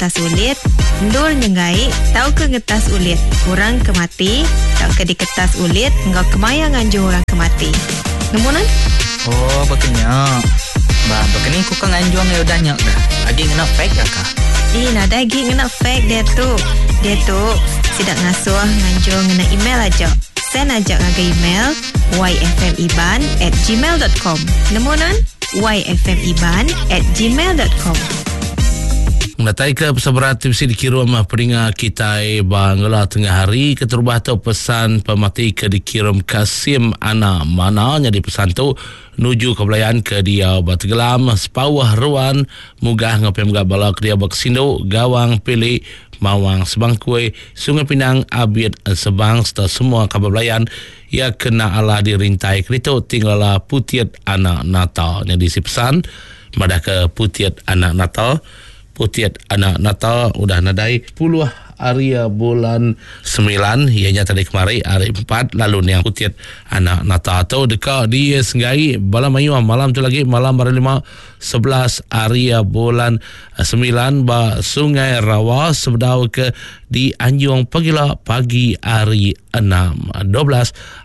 Ngetas ulit, endur nyenggai tauka ngetas ulit orang ke mati tauka diketas ulit enggau kemaya nganjung orang ke mati. Nemu nuan? Oh, baka nya. Ba, baka ni ku ka nganjung iya udah nya ka? Agi ngena fax ka ka? Ih, nadai agi ngena fax diatu. Diatu, sida ngasuh nganjung ngena email aja. Send aja ngagai email yfmiban at gmail dot com. Nemu nuan? yfmiban at gmail dot com. Ngenatai ke pesan berat ti bisi dikirum peninga kitai ba ngela tengah hari keterubah tu pesan pemati ke dikirum Kasim Ana Mana nyadi pesan tu nuju ke belayan ke diau ba Tegelam Sepauh Ruan Mugah enggau pia mega bala ke diau ba Kesindu Gawang Pili Mawang Sebangkui Sungai Pinang Abit Sebang serta semua kaban belayan iya kena alah dirintai keditu ti ngelala Putit Anak Nata nyadi si pesan Madahka Putit Anak Nata, Putit Anak Nata udah nadai puluh ari bulan semilan iya nya tadi kemari hari empat lalu niang Putit Anak Nata tu deka disenggai bala mayuh malam tu lagi malam hari lima 11 ari bulan semilan ba Sungai Rawa sebedau ke dianjung pagila pagi hari enam 12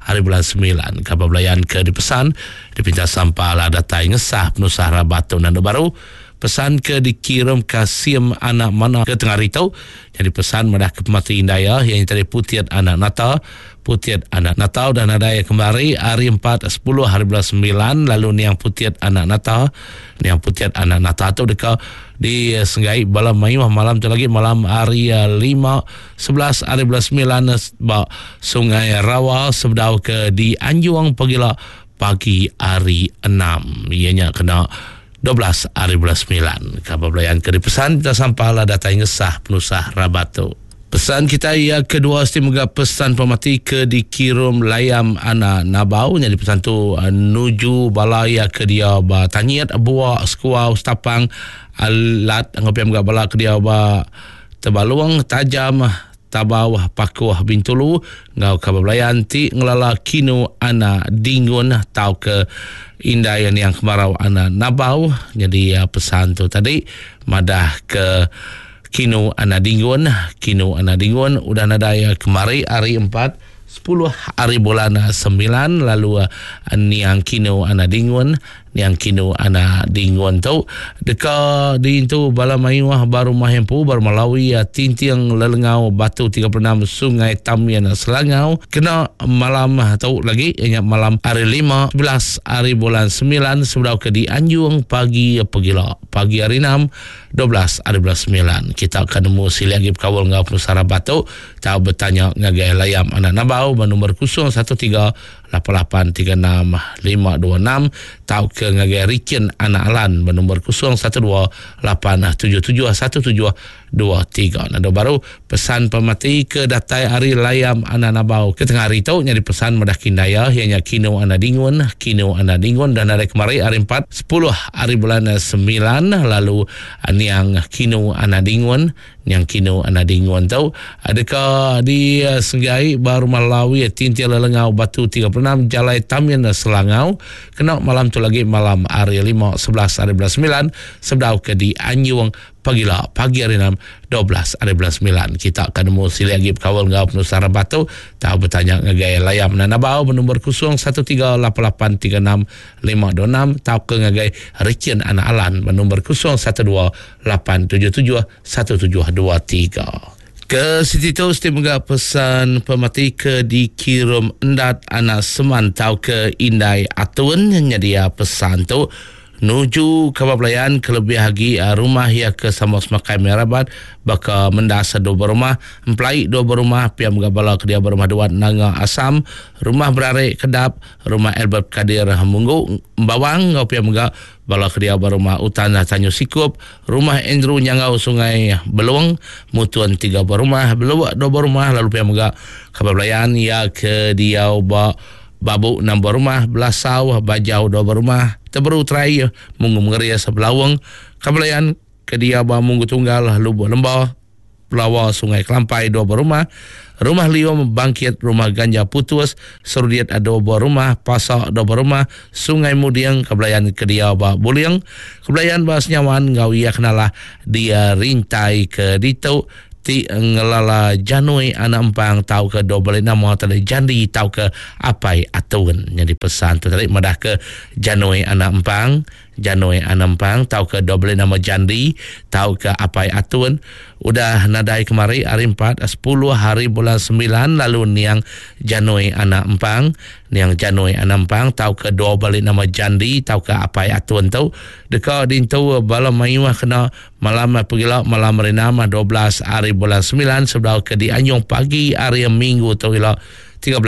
hari bulan semilan. Kaban belayan ke dipesan Dipinta sampal datai ngesah penusah rabat tu nandu baru. Pesan ke dikirum Kasim anak Mana ke tengah hari tu nyadi pesan madah ke pemati indai iya iya nya tadi Putit anak Nata. Putit anak Nata udah nadai kemari hari empat sepuluh hari bulan semilan lalu niang Putit anak Nata. Niang Putit anak Nata tu deka disenggai bala mayuh malam tu lagi malam hari lima 11 hari bulan semilan ba Sungai Rawa sebedau ke dianjung pagila pagi hari enam iya nya kena 12 hari bulan semilan. Kaban belayan ke dipesan kita sampal datai ngesah penusah rabat tu. Pesan kita iya kedua siti mega pesan pemati ke dikirum layam anak nabau nyadi pesan tu eh, nuju bala iya ke dia ba Tanyit Buak Sekuau Setapang Alat enggau pia mega bala ke dia ba Tebalung Tajam Tabau Pakuh Bintulu enggau kaban belayan ti ngelala Kinu Ana Dingun tauka Indai Niang Kemarau Ana Nabau nyadi pesan tu tadi madah ke Kinu Ana Dingun Kinu Ana Dingun udah nadai kemari hari empat 10 hari bulan 9 lalu Niang Kinu Ana Dingun Niang Kinu anak Dingun tu deka diintu bala mayuh ba rumah empu ba Rumah Lawi Tinting Lelengau Batu 36 Sungai Tamin Selangau kena malam tu lagi iya nya malam hari lima 11 hari bulan 9 sebedau ke dianjung pagi pegila pagi hari 6 12 hari bulan 9 kita akan nemu silik agi bekaul enggau penusah rabat tu tau betanya ngagai Layam Anak Nabau ba nombor 013 8836526 tauka ngagai Rikin Anak Alan benombor 0128771723. Nado baru pesan pemati ke datai ari Layam Anak Nabau ke tengah hari tu nyadi pesan madah kindaya iya nya Kino Anak Dingun, Kino Anak Dingun dan nadai kemari hari 4 10 hari bulan 9 lalu niang Kino Anak Dingun Nyang Kinu Anak Dingun tu deka disenggai ba Rumah Lawi Tintil Lelengau Batu 36 Jalai Tamin Selangau kena malam tu lagi malam hari 5 11 hari bulan 9 sebedau ke dianjung pagila pagi hari 6 12 hari bulan 9. Kita akan nemu silik agi bekaul enggau penusah rabat tu tau betanya ngagai Layam Nanabau benombor 01388365 526 tauka ngagai Richin Anak Alan ba nombor 012 877 1723. Ke siti tu siti mega pesan pemati ke dikirum Endat Anak Seman tauka Indai Atun nyedia pesan tu nuju kaban belayan kelebih agi rumah iya ke sama semakai meh rabat baka Mendas dua berumah, Empelai dua berumah, pia mega bala ke diau ba Rumah Duat Nanga Asam, Rumah Berarek Kedap, Rumah Albert Kadir Munggu Embawang enggau pia mega bala ke diau ba Rumah Utan Tanyu Sikup, Rumah Andrew Nyanggau Sungai Belong, Mutun tiga buah rumah, Beluk dua buah rumah lalu pia mega kaban belayan iya ke diau ba Babu enam buah rumah, Belasau, Bajau dua buah rumah, Teberu Terai, Munggu Mengeris, Belaung, kaban belayan ke diau ba Munggu Tunggal, Lubuk Lemba. Pelawa Sungai Kelampai dua buah rumah, Rumah Lium Bangkit, Rumah Ganja Putus, Serudit dua buah rumah, Pasak dua buah rumah, Sungai Muding, Kebelayan ke diau ba Buling, Kebelayan ba Senyawan enggau iya kenalah di Rintai ke ditu ti ngelala Janui anak Empang tauka dua bali nama tadi Jandi tauka Apai Atun. Nyadi pesan tu tadi madahka Janui anak Empang Janoi Anak Empang tauka dua beli nama Jandi tauka Apai Atun udah nadai kemari hari empat 10 hari bulan 9 lalu niang Janoi Anak Empang niang Janoi Anak Empang tauka dua bali nama Jandi tauka Apai Atun tu deka dintu bala mayuh kena malam pegila malam hari 6 12 hari bulan 9 sebedau ke dianjung pagi hari Minggu tu ila 13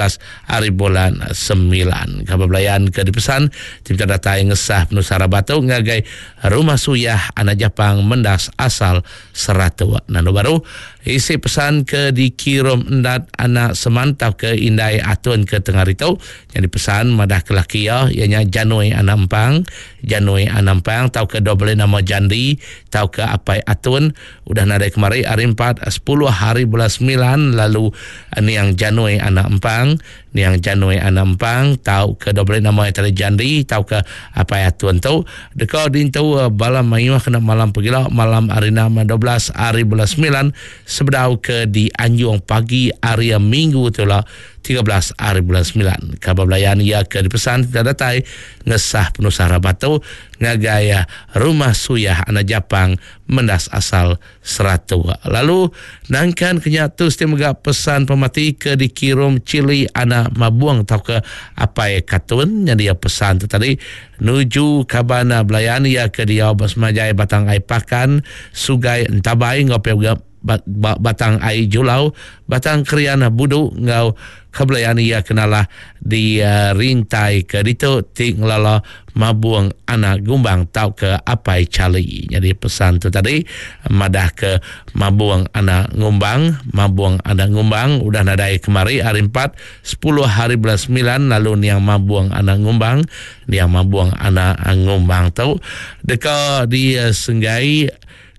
hari bulan 9. Kabar belayan ke dipesan ti minta datai ngesah penusah rabat tu ngagai Rumah Suyah Anak Japang Mendas asal Seratuk. Nanu baru isi pesan ke dikirum endat anak semantau ke indai atun ke tengah hari tu yang dipesan madah ke laki iya iya nya Janui Anak Empang, Janui Anak Empang tauka dua beli nama Jandi tauka Apai Atun Udah nadai kemari hari 4 10 hari bulan 9 lalu niang Janui anak Empang, niang Janui anak Empang tauka dua beli nama iya tadi Jandi tauka Apai Atun tu deka dintu bala mayuh kena malam pegila malam hari 6 12 hari bulan 9 sebedau ke dianjung pagi hari Minggu tu lah 13 hari bulan 9. Kabar belayan iya ke dipesan tidak datai ngesah penusah rabat tu ngagai Rumah Suyah anak Japang Mendas asal Seratuk. Lalu nangkan ke nya tu siti mega pesan pemati ke dikirum Chili anak Mabung tauka Apai Katun nyadi iya pesan tu tadi nuju kaban belayan iya ke diau ba Semajai Batang Ai Pakan, Sugai Entabai enggau pia mega ba Batang Ai Julau, Batang Krian Budu enggau ke belayan iya ke nalah di rintai ke ditu ti ngelala Mabung anak Gumbang tauka Apai Charlie. Nyadi pesan tu tadi madah ke Mabung anak Ngumbang, Mabung anak Ngumbang udah nadai kemari hari 4 10 hari bulan 9 lalu niang Mabung anak Ngumbang, niang Mabung anak Ngumbang tu deka disenggai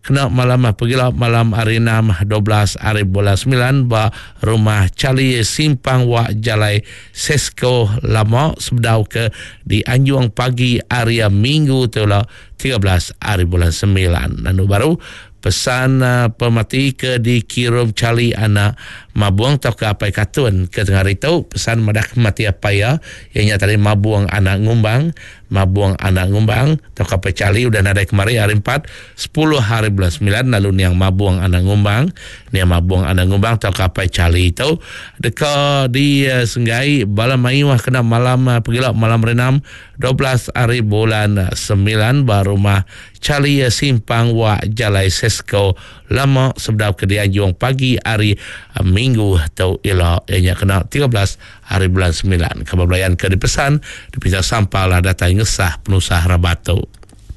Kena malam pegila malam hari 6 12 hari bulan 9 ba Rumah Charlie Simpang Wak Jalai Sesko Lama sebedau ke dianjung pagi hari Minggu tu lah 13 hari bulan 9. Lalu baru pesan pemati ke dikirum Charlie anak Mabung tauka Apai Katun ke tengah hari tu pesan madah mati apai iya iya nya tadi Mabung anak Ngumbang Mabung anak Ngumbang tauka Apai Charlie udah nadai kemari hari 4 10 hari bulan 9 lalu niang Mabung anak Ngumbang niang Mabung anak Ngumbang tauka Apai Charlie tu deka disenggai bala mayuh kena malam pegila malam hari 6 12 hari bulan 9 ba rumah Charlie Simpang Wak Jalai Sesko Lama sebedau ke dianjung pagi hari Minggu tu ila iya nya kena 13 hari bulan 9. Kaban belayan ke dipesan dipinta sampal datai ngesah penusah rabat tu.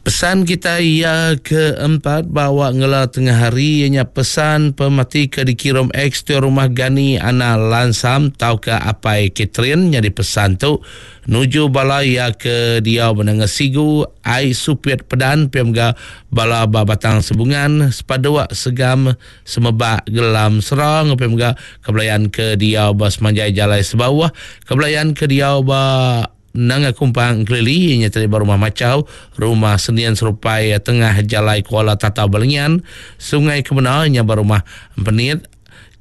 Pesan kita iya keempat bawa ngela tengah hari iya nya pesan pemati ke dikirum ex tuai rumah Gani Ana Lansam tauka Apai Catherine nyadi pesan tu nuju bala iya ke diau benanga Sigu Ai Supit Pedan pia mega bala ba Batang Sebungan Sepaduk Segam Semebak Gelam Sera enggau pia mega ke belayan ke diau ba semanjai Jalai Sebauh ke belayan ke diau ba Nanga Kumpang Engkelili iya nya tadi ba Rumah Machau, Rumah Senian Serupai Tengah Jalai Kuala Tatau Balingian, Sungai Kemena iya nya ba Rumah Empenit,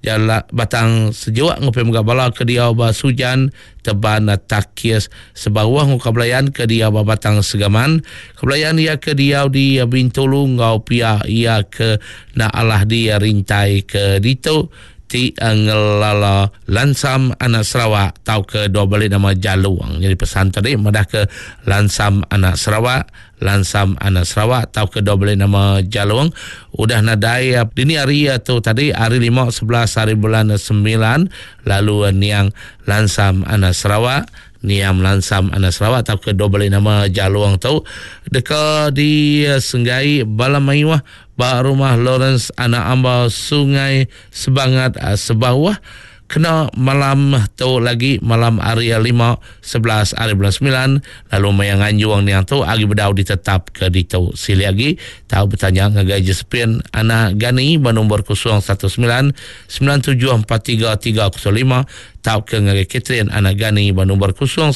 Jala Batang Sejuk enggau pia mega bala ke diau ba Sujan, Teban Takis Sebauh enggau Kabelayan ke diau ba Batang Segaman, Kabelayan iya ke diau di Bintulu enggau pia iya ke enda alah di rintai ke ditu. Ti ngelala Lansam anak Sarawak tauka dua bali nama Jalung. Nyadi pesan tadi madahka Lansam anak Sarawak, Lansam anak Sarawak tauka dua bali nama Jalung udah nadai dini hari tu tadi hari 5 11 hari bulan 9 lalu niang Lansam anak Sarawak Niam Lansam anak Sarawak tauka dua bali nama Jalung tu deka disenggai bala mayuh ba Rumah Lawrence anak Amba Sungai Sebangat Sebauh. Kena malam tu lagi malam hari 5 11 hari bulan 9 lalu maya nganjung niang tu agi bedau ditetap ke ditu. Silih agi tau betanya ngagai Josephine Anak Gani ba nombor 019 9743 305 tauka ngagai Catherine Anak Gani ba nombor 012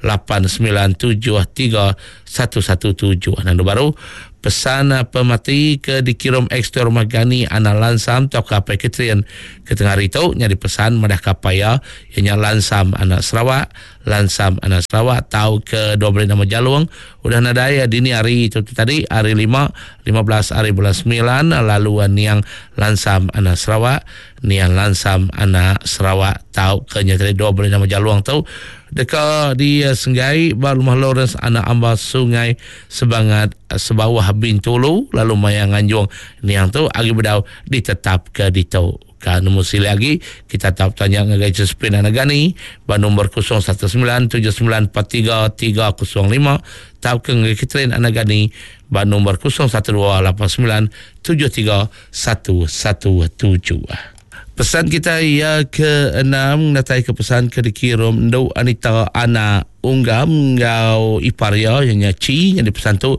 8973 117. Nandu baru, pesan pemati ke dikirum ex-tuai rumah Gani Anak Lansam tauka Apai Catherine ke tengah hari tu nyadi pesan madahka apai iya, iya nya Lansam Anak Sarawak, Lansam Anak Sarawak tauka 12 nama Jalung udah nadai dini hari tu tadi hari lima, 15 hari bulan semilan lalu niang Lansam Anak Sarawak Niang Lansam Anak Sarawak tauka nya tadi 12 nama Jalung tu deka disenggai ba Rumah Lawrence Anak Amba Sungai Sebangat Sebawah Bintulu lalu maya nganjung niang tu agi bedau ditetapka ditu. Ka nemu silik agi kita tau betanya ngagai Josephine Anak Gani ba nombor 0197943305 tauka ngagai Catherine Anak Gani ba nombor 0128973117. Pesan kita iya ke enam datai ke pesan ke dikirum Endu Anita Anak Unggam enggau ipar iya iya nya Chi nyadi pesan tu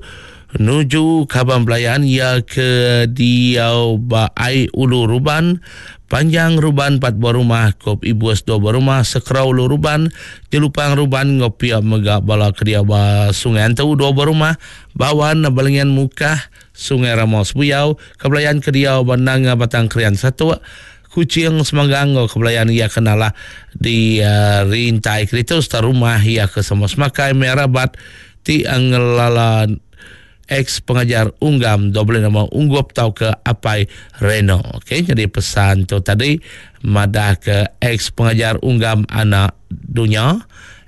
nuju kaban belayan iya ke diau ba ai Ulu Ruban Panjang Ruban empat buah rumah Kop Ibus dua buah rumah Sekerau Ulu Ruban Jelupang Ruban enggau pia mega bala ke diau ba Sungai Antu dua buah rumah Bawan Balingian Mukah Sungai Rama Sebuyau, Kebelayan ke diau ba Nanga Batang Krian Satok, Kuching Semanggang enggau Kebelayan iya ke nalah di Rintai Keditu sereta rumah iya ke sama semakai meh rabat ti ngelala ex pengajar Unggam dau beli nama Unggup tauka Apai Reno. Okey nyadi pesan tu tadi madah ke ex pengajar Unggam anak dunya.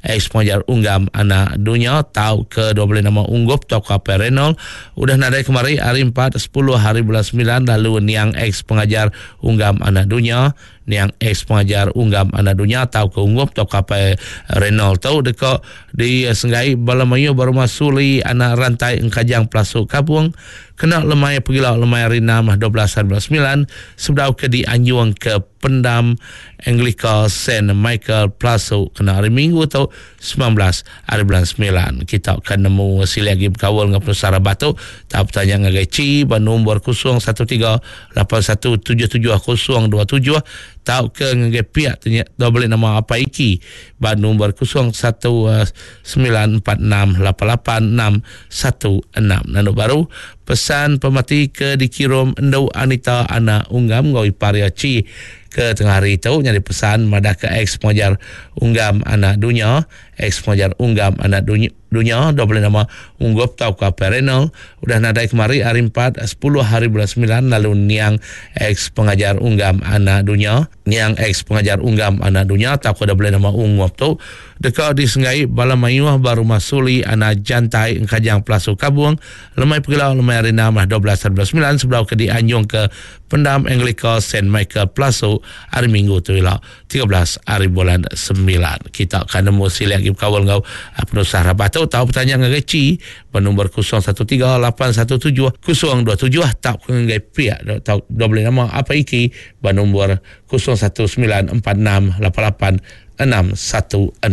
Ex pengajar Unggam anak dunya tauka dua beli nama Unggup tauka Apai Reynold udah nadai kemari hari empat sepuluh hari bulan semilan lalu niang ex pengajar Unggam anak dunya niang ex pengajar Unggam anak dunya tauka Unggup tauka Apai Reynold tu deka disenggai bala mayuh ba rumah Suli anak Rantai Engkajang Pelasu Kabung kena lemai pegila lemai hari enam 12 hari bulan semilan sebedau ke dianjung ke Pendam Anglika Saint Michael Plasu kena hari Minggu tu 19 hari bulan 9. Kita akan nemu silik agi bekaul enggau penusah rabah tu. Tau betanya ngagai Chi ba nombor 013 8177 027 tauka ngagai piak tanya tau beli nama Apai Iki ba nombor 01 946 88 616. Nandu baru Pesan pemati ke dikirum Endu Anita Anak Unggam enggau ipar iya Chi ke tengah hari tu nyadi pesan madahka ex pengajar Unggam Anak Dunya, ex pengajar Unggam Anak Dunya, Dunya 25 Unggup tauka Perenal udah nadai kemari hari empat sepuluh hari bulan semilan lalu niang ex pengajar Unggam Anak Dunya, niang ex pengajar Unggam Anak Dunya tauka 25 Ungup tu deka disenggai bala mayuh ba Rumah Suli Anak Jantai Engkajang Pelasu Kabung Lemai pegila lemai hari enam 12 hari bulan semilan sebedau ke dianjung ke Pendam Anglika Saint Michael Pelasu hari Minggu tu ila 13 hari bulan semilan. Kita akan nemu silik agi bekaul enggau penusah rabah tu tau betanya ngagai Chi ba nombor 013 817 027 tauka ngagai piak tau dua beli nama apa iki ba nombor 019 46 88 616.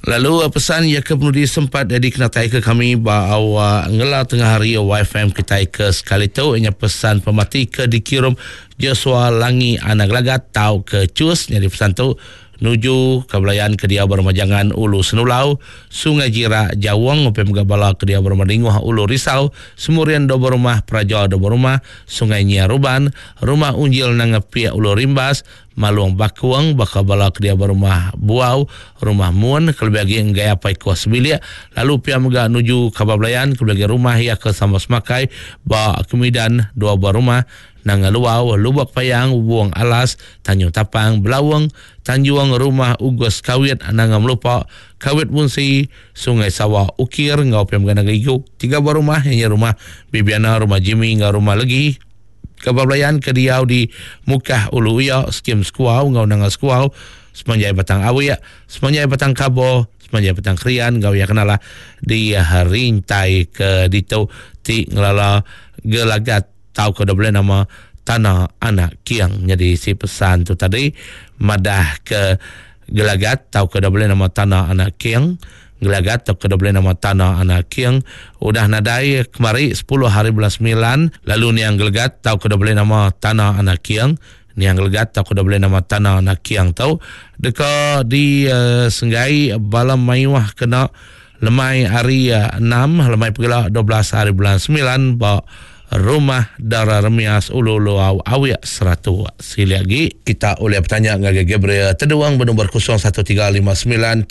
Lalu pesan iya ke penudi sempat dikenataika kami ba awak ngela tengah hari YFM kitai ke sekali tu inya pesan pemati ke dikirum Joshua Langi Anak Gelagat tauka Chus nyadi pesan tu nuju ke belayan ke diau ba Rumah Jangan Ulu Senulau, Sungai Jirak, Jawong ngupi mega bala ke diau ba Rumah Dinguh Ulu Risau, Semurian Dua Rumah, Peraja Dua Rumah, Sungai Nyia Ruban, Rumah Unjil Nanga Piak Ulu Rimbas, Malung Bakung baka bala ke diau ba Rumah Buau, Rumah Mun kelebih agi enggai apai kuah sebilik lalu pia mega nuju kaban belayan kelebih agi rumah iya ke sama semakai ba Kemidan dua buah rumah Nanga Luau, Lubok Payang, Wong Alas, Tanjung Tapang, Belaung, Tanjung, Rumah Ugus Kawit, Nanga Melupa, Kawit Munsi, Sungai Sawa, Ukir enggau pia mega Nanga Igu. Tiga buah rumah iya nya Rumah Bibiana, Rumah Jimmy enggau Rumah Legi. Kaban belayan ke diau di Mukah Ulu Uya, Skim Sekuau enggau Nanga Sekuau, semanjai Batang Awik, semanjai Batang Kabo, semanjai Batang Krian enggau iya kenalah di rintai ke ditu ti ngelala gelagat tauka dau bulih nama. Tana Anak King. Nyadi si pesan tu tadi madah ke Gelagat tauka da bulih nama Tana Anak King. Gelagat tauka da bulih nama Tana Anak King udah nadai kemari sepuluh hari bulan semilan lalu niang Gelagat tauka da bulih nama Tana Anak King niang Gelagat tauka da bulih nama Tana Anak King tu deka disenggai bala mayuh kena Lemai hari enam, lemai pegela 12 hari bulan semilan ba Rumah Dara Remias Ulu Luau Awik Seratuk. Silik agi, kita ulih betanya ngagai Gabriel Teduang benombor 0135930161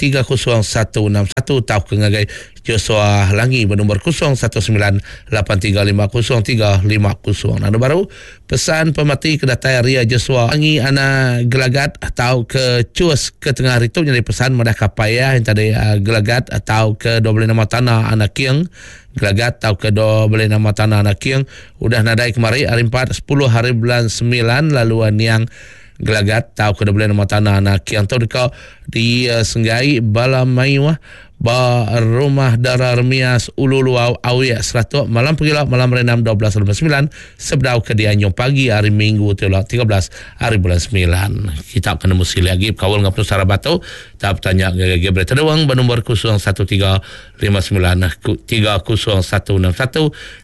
tauka ngagai Joshua Langi benombor 0198350350. Anu baru, Pesan pemati ke datai ari Joshua Angi anak Gelagat tauka Chus ke tengah hari tu nyadi pesan madahka apai iya yang tadi Gelagat tauka dua beli nama Tana anak King. Gelagat tauka dua beli nama Tana anak King udah nadai kemari hari empat sepuluh hari bulan semilan lalu niang Gelagat tauka dua beli nama Tana anak King tu deka disenggai bala mayuh Ba Rumah Dara Remias, Ulu Luau, Awik, Seratok, malam pegila malam hari enam 12.59 sebedau ke dianjung pagi hari Minggu tu ila 13 hari bulan semilan. Kita ke nemu silik agi bekaul enggau penusah rabat tu, tau betanya ngagai Gabriel Tedung ba nombor 013 59 30161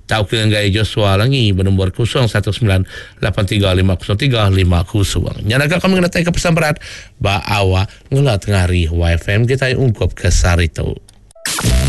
tauka ngagai Joshua Langi ba nombor 019 83 503 50. Nya naga kami ngenataika pesan berat ba awak Ngela tengah hari YFM kitai ungkup ke sehari tu.